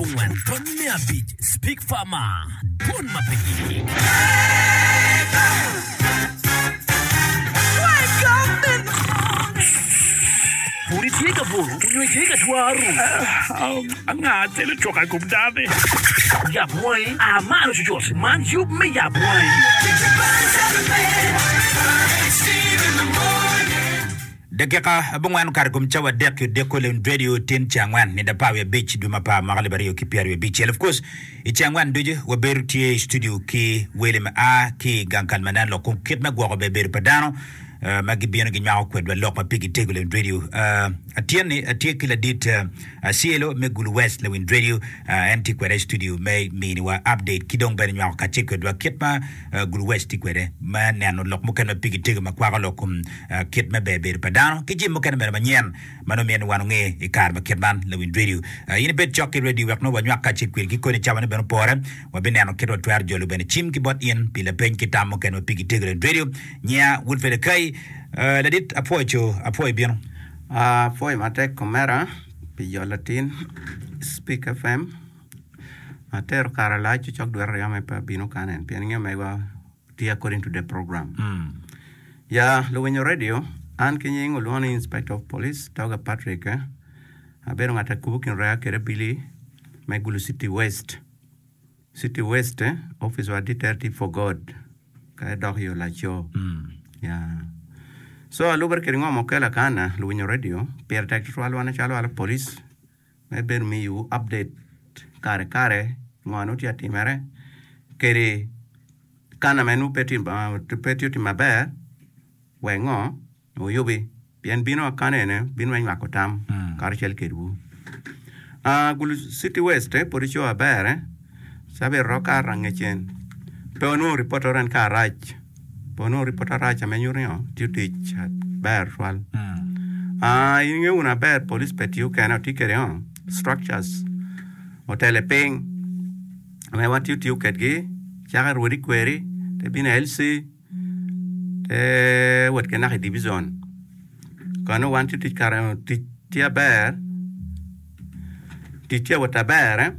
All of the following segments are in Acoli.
abongwen tony me abic Speak Farmer, Dwon ma pe gik. Pud itye ka buto onyo itye ka twaro? Anga telo coka i kom dano-ni? Yab wangi, a malo cucut! Man yub me Yab Wangi. Dakika abongwen okato i kom cawa adek i odiko Lewin Radio tin ce angwen nida apar wiye abic dwe me apar mwaka alip aryo ki pyeraryo abicel. Of course i ce angwen ducu wabedo tye i studio ki wele ma a ki i gang kal ma neno lok kom kit me gwoko ber bedo pa dano eh, ma gibino ginywako kwedwa lok ma pigi tego Lewin Radio. Eh, atyen-ni atye ki ladit eh, Acielo me Gulu West Lewin Radio eh, en tye kweda i studio me miniwa update ki dong bene nywako kacel kwedwa kit ma eh, Gulu West tye kwede me neno lok mukene ma pigi tego ma kwako lok kom kit me ber bedo pa dano ki jami mukene bene manyen ma nongo myero ni wan onge i kare ma kit man. Lawiny radio, in ibed cok ki radio wek nongo wanywak kacel kwedi ki koni cawa ne bene opore. Wabineno kit watwero jolo bene cim ki bot in pi lapeny ki tam mukene ma pigi tego. Lawiny radio, nyiya Wilfred Akai, ladit apwoyo co, apwoyo bino. Apwoyo matek omera pi jolo latin Speak FM. Atero kare lac cok dwere aryo ma pe abino kany eni pien inge megwa tye according to the program. Ya luwinyo radio, an ki nying olwongo ni Inspector of Police Toga Patrick, abedo ngat akubo kin rea kede abili me Gulu City West. City West, office wa ditere tye for God ka idok i Olaco. Ya. So alubere kede ngo ma okela kana luwinyo radio, pire tek tutwal wan acalo wan police me bedo miyowu update kare kare ngo nongo tye ka timere kede kana ma nongo pe tye otimo maber wek ngo wuyubi pien bino akana ene bino me nywako tam karacel kedwu. Gulu City West pud ico aber cabit romo kato angecen pe wanongo ripot ento ka arac. Pe onongo ripot arac ame nyuto ni tiyo tic ber tutwal. Ah, in ingeyo wunu aber police pe tiyo kene, otye kede ngo structures otele piny ame wan tiyo tiyo kedgi cake rwodi kweri te bino i LC te wot ki naka i division kano wan tiyo tic kare tic tye aber tic tye wot aber eh.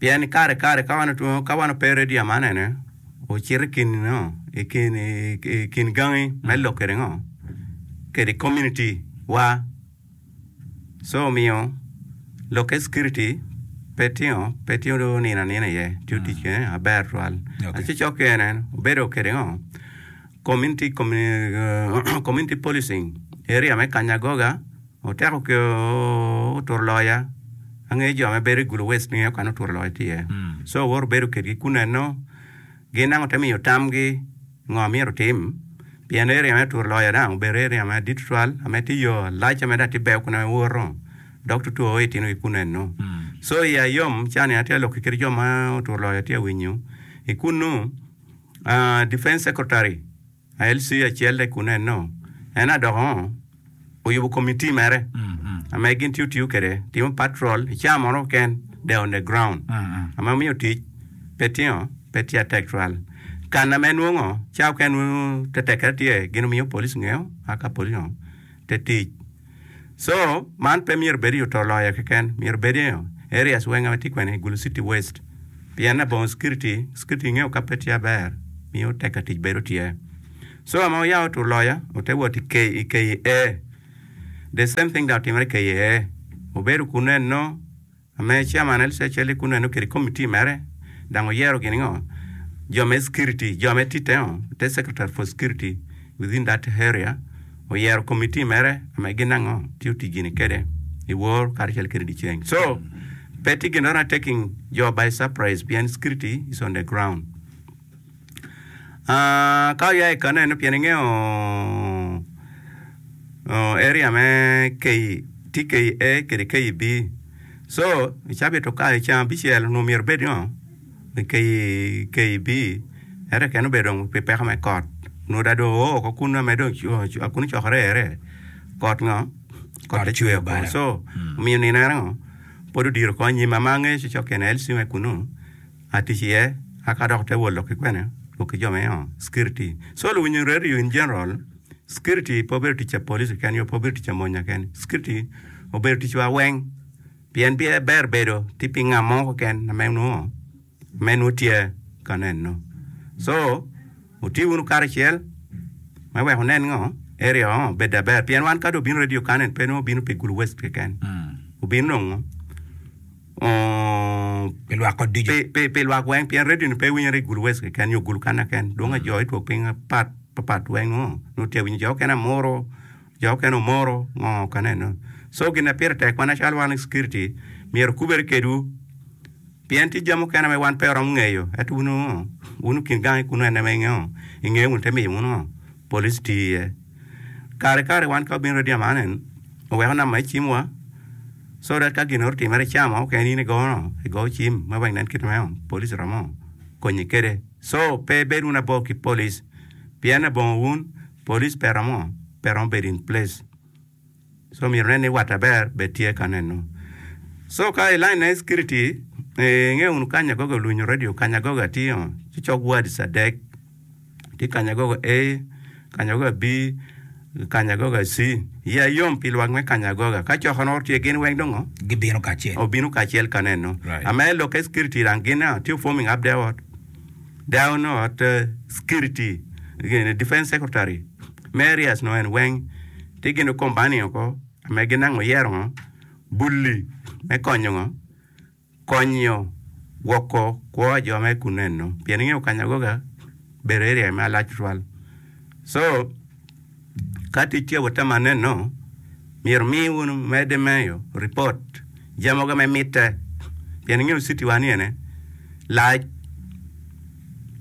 Pien kare kare ka wan otwongo ka wan ope redio man ene ocito i kin ngo i kin i kin gangi me lok kede ngo kede community wa so omiyo lok security pe tingo pe tingo nino anina iye tiyo tic kene aber twal Okay. ci cok kene obedo kede ngo community community policing area me Kanyagoga Oteko ki oturo loya, angeyo jo ma bedo i Gulu West ngeyo kany oturo loya tye iye. So awoto bedo kedgi kuneno, gin dang ote miyo tamgi ngo myero otim, pien area me oturo loya dang obedo area ma dit tutwal ame tye yo alac ame dang tye ber kun iwoto dok tutwo itino ki kuneno. So iya yom cani atye ka lok kede jo ma oturo loya tye ka winyo i kunu, defense secretary LC acel de kun eno en adoko oyubo committee mere ame gin tiyo tiyo kede timo patrol i caa mono keken they on the ground ame omiyo tic pe tingo pe tye atek twal kan ame nwongo caa okene nongo te tekere tye gin omiyo police ngeyo aka police te tic So, man pe myero obed i oto loyo keken, myero obed i areas weng ma tye kwene i Gulu City West. Pien labongo security, security ingeyo ka pe tye aber, miyo tek ka tic bedo tye. So, ma oya oto loyo, ote wot i KEA. The same thing dok otimere i KEA. Obedo kunu eno, Ame chairman LCHL kunu eno kede committee mere dang oyero gini ngo jo me security jo me tite ngo te secretary for security within that area oyero committee mere ame gin ango tiyo tic gini kede i wor karacel kede dyeceng so pe tye gin na taking jo by surprise pien security is on the ground. Ah, ka oya i kano eno pien ingeyo oh, area me K, TKA kede KEB. So, i cabit okayo i ceng abicel onongo myero obed ngo i K, KEB, ento keken obedo dong pi peko me kot. Onongo dong dong oo oko kunu ame dong kunu ocokore ere, kot ngo? Kot Kot te cwer cwer oko. obalo. So, omiyo nino eno ngo pwod odiro oko anyim ama angeyo ci cok kene LC me kunu. Atic iye aka dok te wot lok ki kwene lok ki jo me security. So luwinyo radio in general security pe obedo tic pa police keken nyo pe obedo tic pa mony keken security obedo tic wa weng. Pien ber bedo tye pi nga mo keken ma nongo me nongo tye ka neno. So, wuti wunu karacel me wek wunen ngo area ngo obed aber. Pien wan ka dong obino radio kan eni pe nongo obino pi Gulu West keken. Obino nongo Pi lwak kot ducu. pi, pi lwak weng pien radio ni pe winyere i Gulu West keken nyo Gulu kan keken. Dwong jo i twok piny mapat papat weng nongo nongo tye winyo jo okene amuro Jo okene omoro ngo ka neno. So gin ma pire tek wan acalo wan security myero okubere kedwu pien tye jami mukene ma wan pe waromo ngeyo ento wun ngo wun okin gangi kunu ene ma ingeyo ingeyo wunu te miyo wun ngo police tiyo iye. Kare kare wan ka wabino radio man en oweko namba me cim wa so that ka gin oro otimere ca mo keken in igono igo cim ma wek inen kit ma police romo konyi kede. So pe ibed wunu abor ki police pien labongo wun Police pe romo pe romo bedo in place so myero nen ni wat aber bed tye ka neno so ka i line me security inge wunu kanyagoga olunyo radio kanyagoga tye o ci cok wards adek tye kanyagoga A kanyagoga B kanyagoga C iya yom pi lwak me kanyagoga ka coko nongo tye gin weng dong Gibino kacel. obino kacel ka neno Right. ame lokke security dang gin tye forming up their what Down ot security gini defense secretary me areas no en weng tye gin okombani oko me ginango yero ngo bulli me konyo ngo konyo gwoko kwo jo me kunu eno pien ingeyo kanyagoga bedo area ma lac tutwal so Ka tic tye wot ma neno, myero omi wunu medde meyo ripot jami mogo me mitte pien ingeyo citi wa ni ene lac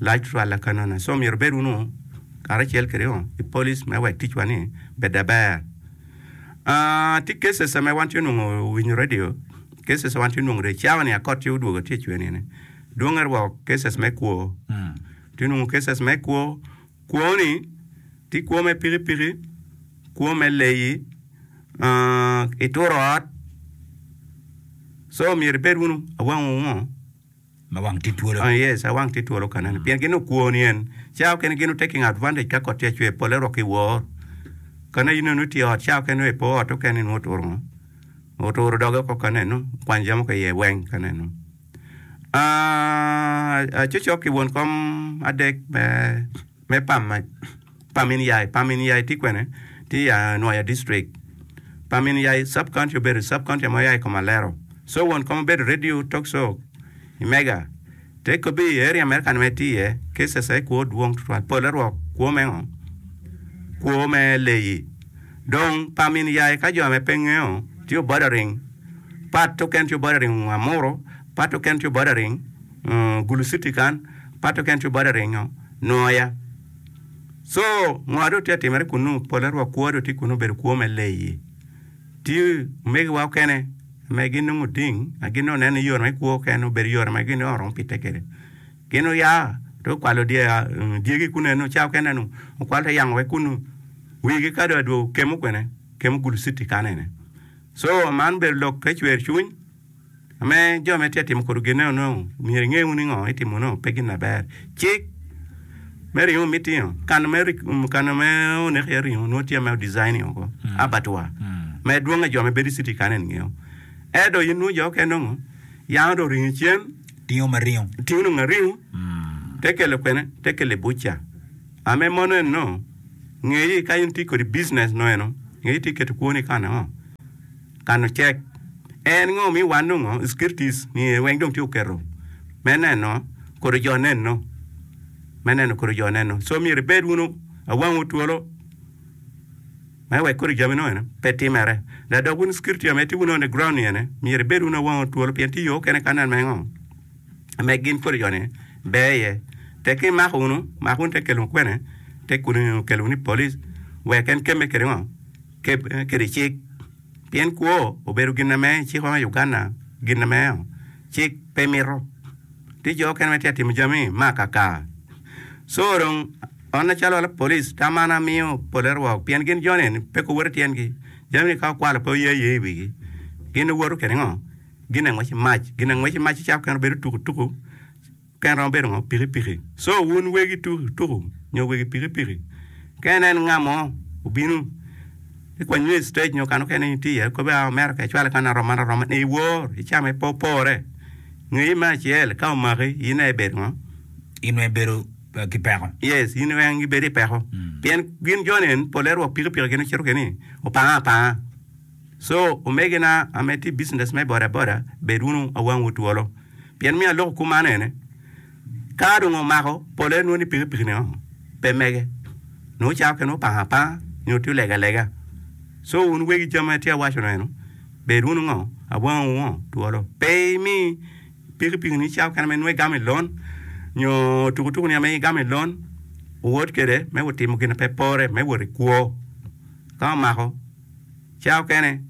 lac tutwal lakanona so myero obed wunu karacel kwede i police me wek ticwa ni bed aber. Tye cases ma wan tye nongo winyo radio cases ma wan tye nongo cawa ni akot tye odwogo tye cwer ni ene dwonge rwok cases me kwo tye nongo cases me kwo Kwo-ni tye kwo me pikipiki, kwo me leyi, ituro ot, so myero ibed wunu awang ngo? Ma wang tye twolo. Yes, awang tye twolo ka nene pien gin okwo-ni en cawa okene gin taking advantage ka kot tye ka cwer pole rok iwor ka nongo in nongo itye i ot cawa okene nongo ipo ot okene nongo oturo ngo? Oturo doge oko ka neno okwanyo jami mogo iye weng ka neno. Acocok ki won kom adek me Pamin Yai, Pamin Yai tye kwene? Tye i Nwoya district. Pamin Yai sub county obedo sub county ma oya i kom Alero. So won kom obedo radio talk show i Mega. Te kobi i area mere kany ma etye iye cases aye kwo dwong tutwal. Pole rwok kwo me ngo? Kwo me leyi. Dong Pamin Yai ka jo me pe ngeyo tye obordering Part okene tye bordering Amuru, part okene tye bordering Gulu city kan, part okene tye bordering Nwoya. So ngo dong tye ka timere kunu pole rwok kwo dong tye kunu obedo kwo me leyi. Tye omegiwa okene ma ginongo ding ma gin nongo neno ni yore me kwo kene obedo yore ma gin nongo romo pite kwede. Gin oya dong okwalo dyegi kunu eno ca okene eno okwalo te yango wek kunu wigi ka dong adwogo kemo kwene kemo Gulu city kan ene. Co man obedo lok me cwer cwiny me jo ma itye ka timo kwede gin eno myero inge wunu ni ngo itimo nongo pe gin maber. Cik me ringo ma itingo kano me kano me oneko iye ringo nongo tye ma odesign woko abattoir ma dwonge jo ma bedo i city kany eni ngeyo ento in nongo jo okene nongo yango dong oringo cen Tingo ma ringo. tingo nongo aringo te kelo kwene te kelo i buca. Ame mono eno ngeyi ka in tye kodi business no eno ngeyi tye keto kwoni i kano ngo kano cek en ngo mi wan nongo securities ni weng dong tye oketo me neno kodi jo neno me neno kodi jo neno so myero ibed wunu awangwu twolo me wek kodi jami no eno pe timere da dok wun security ame tye wunu on the ground ni ene myero ibed wunu awangwu twolo pien tye yo okene ka nen me ngo me gin kodi joni ber iye. Tek ka imako wunu, mak wunu te kelo kwene, te kelo wunu i polic wek en kemme kede ngo? Kede cik. Pien kwo obedo gin ame cikwa me Uganda gin ame cik pe mito. Tye jo okene ma tye ka timo jami ma akaka. Co dong an macalo lapolic tam an amiyo pole rwok pien gin joni eni pe guwoto tyengi. Jami-ni ka okwalo pe oye aye i wigi. Gin giwoto kede ngo? Gin angwec mac, gin angwec mac ca kene obedo tuku tuku kene romo bedo ngo pikipiki. So wun wegi tuku tuku nyo wegi pikipiki ka inen nga mo obino. Ikwanyo i stage nyo kano kene itye iye kobe a omera ka icwale kan arom man arom man iwor icame pe opore. Ngeyi me acel ka omaki in aye ibedo ngo? In weng ibedo ki peko. Yes, in weng ibedo i peko. Pien gin joni en pole rwok pikipiki gin ocito kede ni opanga apanga. So omegina ame tye i business me boda boda bed wunu awangwu twolo. Pien miyo aloko kuman ene Ka dong omako, pole nongo ni pikipiki-ni pe mege. Nongo cawa kene opango apanga nyo tye olego alega. Co wun wegi jami ma atye ka waco eno, bed wunu ngo, awangu ngo twolo. Pe imi pikipiki-ni cawa kene ma inongo igamo i lon nyo tukutuku-ni ma igamo i lon wuwot kwede me wutimo gin ma pe pore me wot i kwo. Ka omako cawa kene.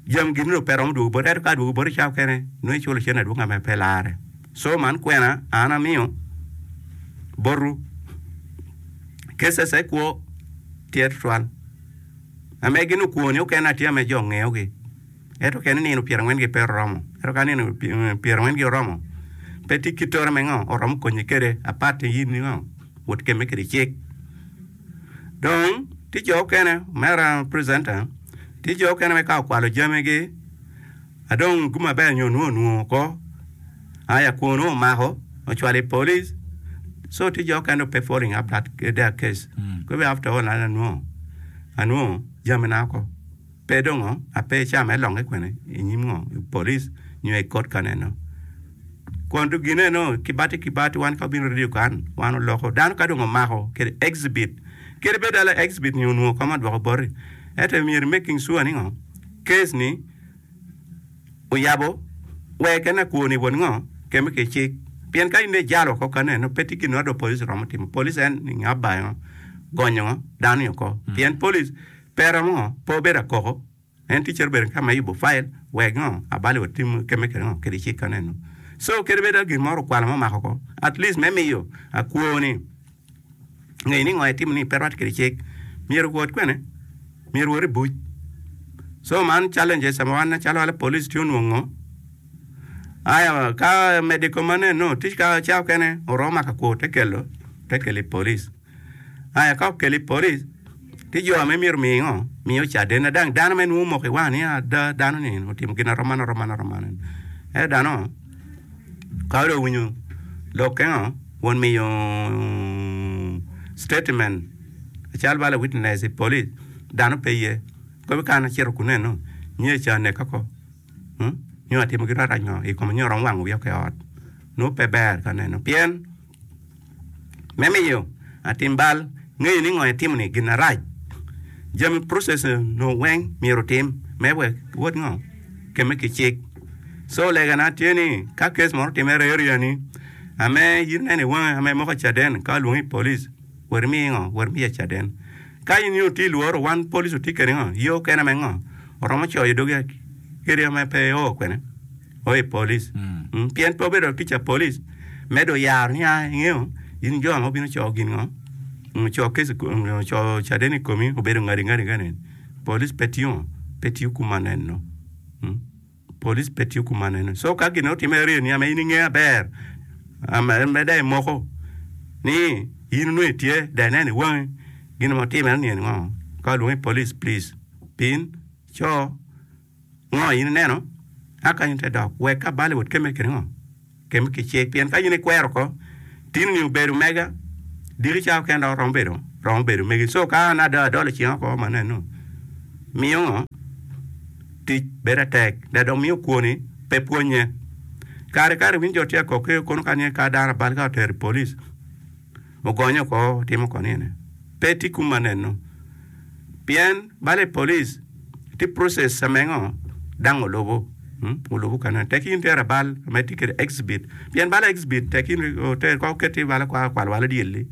Jami gin dong pe romo dwogo boti, ento ka dwogo boti cawa kene nongo iculo cente adwoga ma pe larre. Co man kwena an amiyo botwu, cases kwo tye tutwal. Ame gin okwoni okene atye ame jo ngeyogi, ento kene nino pyerangwen gi pe oromo, ento ka nino pyerangwen gi oromo pe tye kit tore me ngo oromo konyi kwede apart in ngo wot kemme kwede cik. Dong tye jo okene omera presenter tye jo okene ma ka okwalo jamigi adong gum aber nyo nwo onwongo oko aya kwonu omako ocwalo i police so tye jo okene dong pe following up that their case kobe after all an anwongo anwongo jamina oko pe dongo ape ca me longe kwene inyim ngo i police nyo i court ka neno. Kun to gine no kibati kibati wan ka obino radio kan wan oloko dano ka dong omako kede exhibit kede bed ala exhibit ni onwongo koma dwoko boti ento myero making sure ni ngo case ni oyabo wek en akwo ni won ngo keme ki cik pien ka in dong ijalo oko ka neno pe tye gin mo dong police romo timo police en nga bayo gonyo ngo dano ni oko pien police pe romo ngo pe obedo akoko. En ticce obedo ka me yubo fail wek ngo abali otim keme kede ngo kede cik ka neno. So kede bed gin moro okwalo ma omako ko at least me miyo akwo ni ngeyo ni ngo etimo ni pe rwate kede cik myero owot kwene myero owot i buc. So man challenges ma wan macalo wala police tye onwongo aya ka medo i kom maneno tic ka ca okene oromo mako akwo te kelo te kelo i police. Aya ka okelo i polic, ci jo ame myero omi ngo? Miyo caden. Adang dano me nwo omoko i wanga ni ada dano ni otimo gin arom man arom man arom man. Ento dano ka dong owinyo lokke ngo, won miyo statement cal bala witness i polic, dano pe ye. Kobo ka an acito kuneno, nyo ca oneka oko, nyo atimo gin marac ngo i kome nyo oromo wango wiya oko i ot. Nongo pe ber ka neno pien. Me miyo atim bal ngeyo ni ngo etimo ni gin arac, jami process no weng myero otim me wek wot ngo keme ki cik. So lega na tye ni ka case moro otimere i area ni ame in ineno iwange ame imoko caden ka olwongi i police wot imi ngo wot imiye caden. Ka in itye lworo wan police otye kede ngo yoo kene me ngo oromo coyo dogi kadi ame pe o kwene. o i polic pien pe obedo tic pa polic me dong yaro ni a ingeyo in jo ma obino coyo gin ngo coyo case coyo caden i komi obedo ngadi ngadi ngadi polic pe tiyo pe tiyo kumaneno polic pe tiyo kumaneno so ka gin otime aryo ni ma in ingeyo aber ma dong imoko ni in onongo itye dong ineno i wangi gin ma otime ni ngo ka olwongi polic please bin co. Ngo in ineno? A kany te dok, wek ka bal wot kemme kede ngo? Kemme ki cik. Pien ka in ikwero oko, tinoni obedo mega, diki ca okene dok romo bedo, romo bedo megi. Co ka an ada adolo cinga oko ma neno, miyo ngo? Tic bedo atek, dok dong miyo kwoni pe pwonye. Kare kare iwinyo jo tye ka kok kono ka ni ka dano abal ka otero i police. Ogonyo oko otimo ko nine. Pe tye kuma neno. Pien bala i police tye process ame ngo dang olubo olubo ka neno tek in itero abal ame tye kede exhibit pien bala exhibit tek in oter ko oketi bala kwa kwalo walo dyelli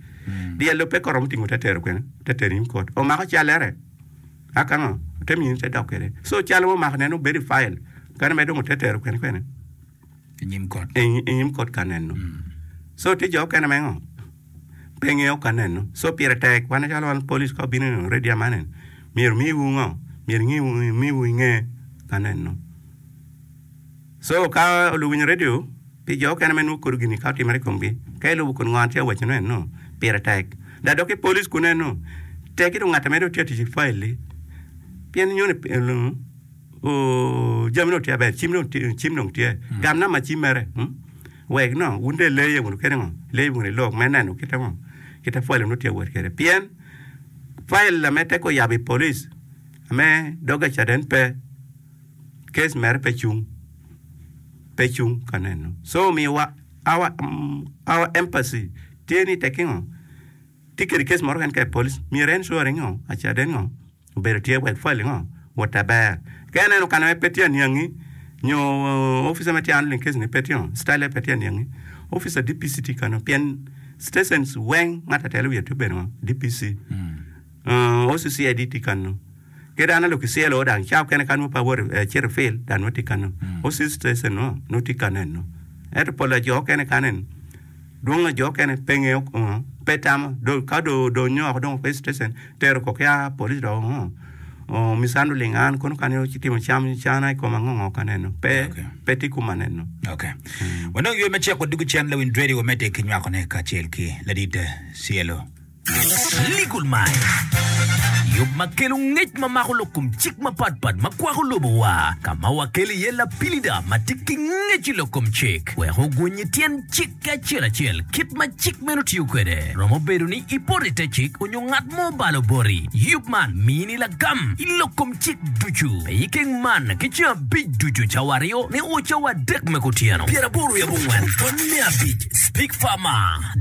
dyelli pe koromo tingo te tero kwene te tero inyim kot omako calere aka ngo ote mini te dok kede so cal ma omako neno bedo i file kene me dong ote tero kwene kwene. I nyim kot. I nyim kot ka neno. So tye jo okene me ngo? Pe ngeyo ka neno. So pire tek wan calo wan police ka obino i radio man eni myero omiwu ngo? Myero omiwu inge ka neno. So ka luwiny radio pi jo okene me nwo kodo gini ka otimere i komgi ka ilubo kun ngo an tye ka waco ne eno pire tek. Da dok i police kun eno. Tek-ki dong ngat ma dong tye ka tic ki fail-li pien nyo ni jami dong tye aber, cim dong tye, cim dong tye, gam namba cim mere wek no wun dong ileye wunu kede ngo, ileye wunu ilok me neno kite ngo, kite fail nongo tye ka wot kwede pien fail ame tek oyabo i polic ame dog caden pe case mere pe cung, pe cung ka neno so omiyo wa our, our embassy tye ni tekki ngo. Tye kede case moro keken ka i police myero en sure ngo acaden ngo obedo tye wek file ngo wot aber ka ineno kana ma pe tye aniangi nyo officer ma tye handling case ni pe tye ngo style pe tye aniangi officer DPC tye kano pien stations weng ngat atelo wiye tye obedo ngo DPC OCCID tye kano ki dano lok i CLO dang ca okene ka nongo pe awoto acito i field dang nongo tye kano OC station nongo tye kano eno ento pol pa jo okene kano eni Dwong a jo okene pe ngeyo pe tamo ka do donyo oko dong police station tero ko ki a police dong mishandling an kono kany ci timo cam cana i koma ngo ngo ka neno pe pe tye kuma neno. Ok. Wanong yo me ceko dugu cen lawiny radio wamedde ki nywakone kacel ki ladit CLO. Legal Minds, Yub ma kelo ngec ma mako lok kom cik mapatpat ma kwako lobowa, ka ma wakelo iye lapilida ma tye ki ngec i lok kom cik wek ogwony tyen cik ki acel acel kit ma cik meno tiyo kwede. Romo bedo ni ipoto i te cik onyo ngat mo obalo boti. Yub man mini lagam i lok kom cik ducu. Pe ikeng man ki ceng abic ducu cawa aryo nio cawa adek me kutyeno. 84 tony me abic Speak Farmer.